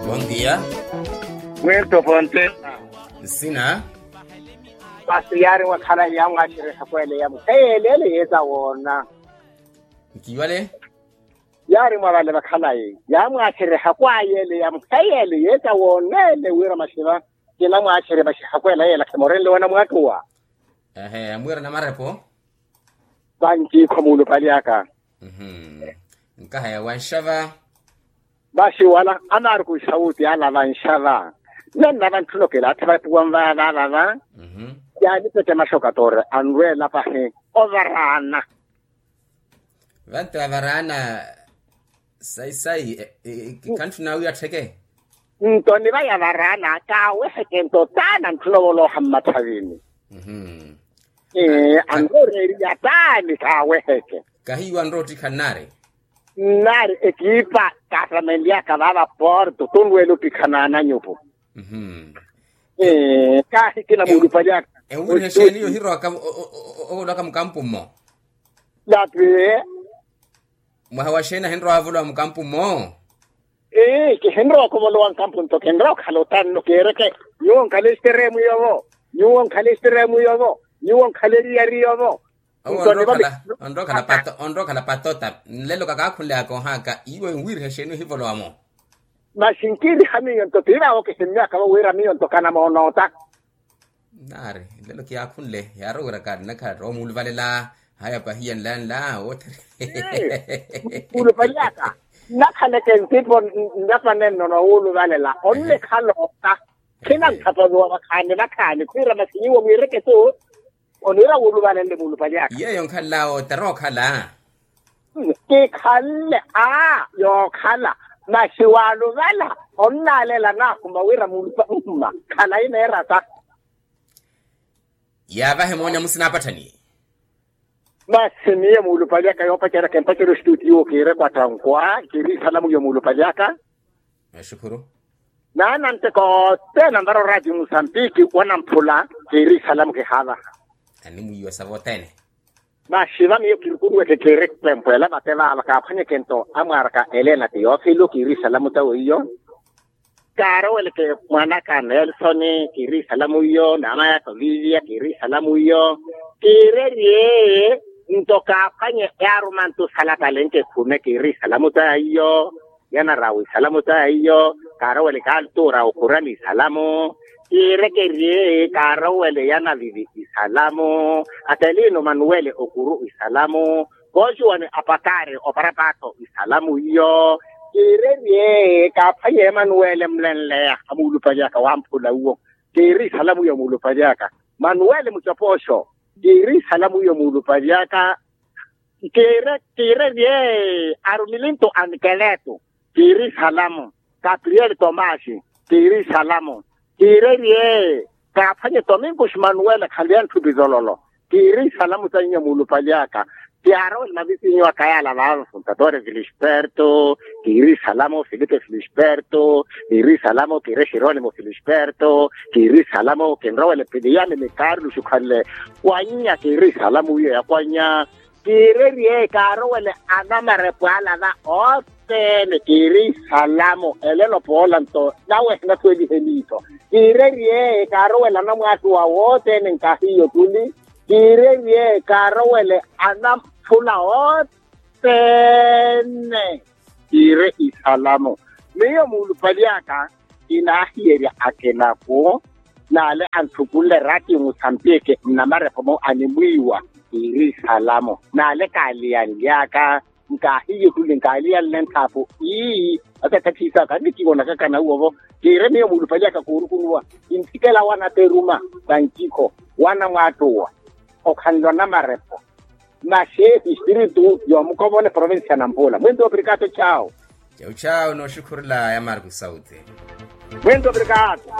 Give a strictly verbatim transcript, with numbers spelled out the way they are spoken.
Bondia. Mwento pontesa. Nsina. Pasi yaari mwakhalayi yaamwaaxereha kweleya mukheyelele yeeta woona. Nkiwale. Yaari mwa vale vakhalayi yaamwaaxereha kwayeleya mukheyele yeeta woonele wira maxiva. Kinamwaaxerye maxiha kwela yeela khimorenle wana mwaattuwa. Ehe amwiira namarepo. Vanci kho muulupali aka. Nkaha ya wanxava. Vaxiwala anaari kuixawuti ala vanxava. Nannava ntthuno kilaatthi vapuwa nvaavavava. Yaanipete maxoka toori anrweela pahi ovaraana. Vantu avaraana. Sayi sayi. Khantthu nawe attheke. Nto nivaya varaana kaaweheke nto taana ntthuno volooha mmathavini. Anrooreriya taani kaaweheke. Kahiiwa nroottikha nnaari. Nnaari ekiipa kaatamenlyaka vaava porto tunrweela ottikha naananyupu. Kaahikina muulupalyaka. Enwiriha exeeni yohirowaka ovolowaka mukampu mmo. Dapi. Mwaha wa xeeni ahinrowa ovolowa mukampu mmo. Ii kihinrowa okhovolowa nkampu nto kinrowa okhala otanno kiireke. Nyuwo nkhala exteremu yovo. Nyuwo nkhala exteremu yovo. Nyuwo nkhala eriyari yovo. Onrowa okhala patota nlelo kakaakhunleyaka ohaka iwe nwiriha exeeni ohivolowamo. Masi nkiiriha miyo nto tiiraawo kihimmyakavo wira miyo nto kanamoonoota. Naari nlelo kiyaakhunle yaari owira kaari nakhala ttowa omuuluvalela. Haya pahiya nlanla woothari. Muulupalyaka nnakhaleke ntipo nnapanenno nowuuluvalela onnikhala ota. Khinanthapaliwa vakhaani vakhaani khwiira masi nyuwo mwiireke tu. Oniira wuuluvalenle muulupalyaka yeeyo nkhanla ota rookhala. Kikhanle a yookhala. Masi waaluvala onnaalela naahuma wira muulupa mma khalayi neerata. Yaavahe moonya musina apatthani. Masi miyo muulupali aka yoopacerya kimpacerya ostuutiyo kiire kwattankwa kiiri isalamu iyo muulupali aka. Naananteka othene anvara oraatiyo musambiki wanamphula. Kiiri isalamu kihaavaha. Animwiiwa sava othene. Masi va miyo kirukuruweke kiiri kipempwela vate vaava kaaphwanyeke nto amwaaraka elena tiyofilo kiiri isalamu tawe iyo. Kaaroweleke mwanaka nelsoni kiiri isalamu iyo namayaka olivia kiiri isalamu iyo. Kiirerye nto kaaphwanye yaaruma nto salatalenke khune kiiri isalamu tawe iyo. Yanarawa isalamu tawe iyo. Kaarowele kaaltura okhurani isalamu. Kiirekerye kaarowele yanavivi isalamu. Atelino manuwele okuru isalamu. Koocuwani apakaari oparapaatho isalamu iyo. Kiirerye kaaphwanye emanuwele mlenleya amuulupali aka wamphula uwo. Kiiri isalamu iyo muulupali aka. Manuwele mucopooxo. Kiiri isalamu iyo muulupali aka. Kiirerye arumilinto anikeleto. Kiiri isalamu. Kapriyeli tomasi. Kiiri isalamu. Kiirerye kaaphwanye tominkuxi manuwele khanliya ntthupi zololo. Kiiri isalamu sa inyo muulupali aka. Kiyaarowela mavisinyu aka yaala vaavo funtatore filisperto. Kiiri isalamu filipe filisperto. Kiiri isalamu kiiri exeronimo filisperto. Kiiri isalamu kinrowele piliyani ni karluxi khwanle. Kwanya kiiri isalamu iyo ya kwanya. Kiirerye kaarowele anamarepo ala va othene kiiri isalamu elelo poola nto nawe ehinasuwelihe miitho. Kiirerye kaarowele anamwaattuwa wothene nkaahiyo tuli. Kiirerye kaarowele anamphula othene. Kiire isalamu. Miyo muulupali aka kinaahiyerya akinaku. Naale anthukunle eraatiyo musambiki nnamarepomo animwiiwa. Kiiri isalamu. Naale kaaliyanlyaka. Nkaahiye khuli nkaaliyanle nthaapu. Ii. Atathathiisaka nnikiwonaka kanauwovo. Kiire miyo muulupali aka koorukunuwa. Kinthikela wana teruma. Vankikho wana mwaattuwa. Okhanle onamarepo. Masi espiritu yoomukovona eprovincia ya nampula mwinto obrikato chawo. Chawu chawu nooxukhurula ya marku sauti. Mwinto obrikato.